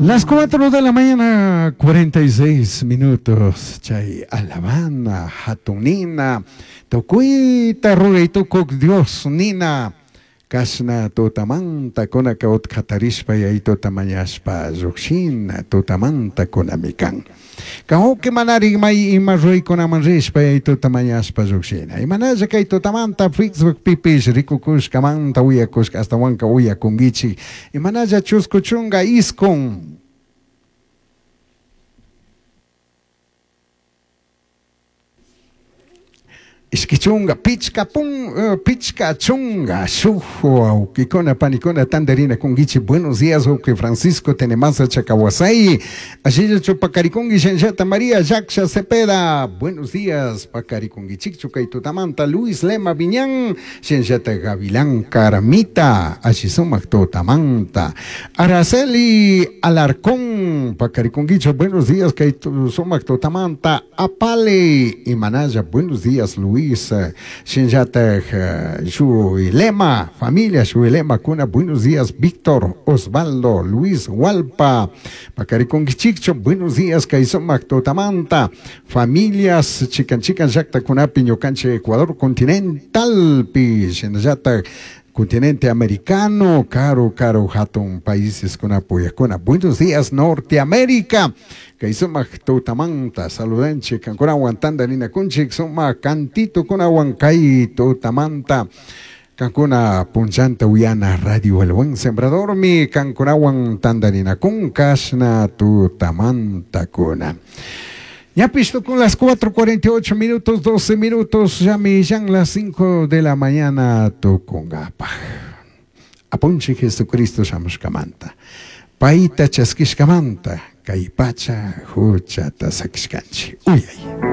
Las 4 de la mañana, 46 minutos. Chay alabana, hatun nina, tucuita ruray tucuc Dios nina. Cashna tutamanta kunaka utkatarishpa yayituta mañashpa llujshina tutamanta kunami kan. Kan manarik may ima ruraykunaman rishpa yayituta mañashpa llujshina. Imanalla kay tutamanta Facebook pipish rikukushkamanta uyakushka ashtawanka uyakunkichik. Imanalla chusku chunga iskun. Ishki chunga, pichka pun, pichka chunga, shuk wawkikuna, panikuna, tandarina kunkichi. Buenos días, wawki Francisco Tenemasa Chacawasay. Ashillachu pakarikunki shanshata María Yaksha Cepeda. Buenos días, pakarikunkichikchu kay tutamanta Luis Lema Viñán, shanshata Gavilán Caramita, ashi sumak tutamanta. Araceli Alarcón, pakarikunkichu, buenos días, kay sumak tutamanta. Apale Imanaya, buenos días, Luis. Shinllataj Lema, familia Lema Kuna, buenos días, Víctor Osvaldo, Luis Hualpa, Pacariconquichicho, buenos días, kay sumak tutamanta, familias, chican chican llakta kunapi, ñukanche Ecuador continental, pi, shinllataj continente americano, caro, caro, hatun países kuna. Buenos días, Norteamérica. Kay sumak tutamanta, saludanchik, kankunawan tandarina kunchik, sumak cantito kunawan kay tutamanta. Kankuna punchanta uyana Radio El Buen Sembrador mi kankunawan tandarina kun kashna tutamanta kuna. Ya pisto con las 4.48 minutos, 12 minutos, ya me las 5 de la mañana tukungapaj. Apunchi Jesucristo shamushkamanta. Paita chaskishkamanta, kay pacha huchata sakishkanchi. Uyay.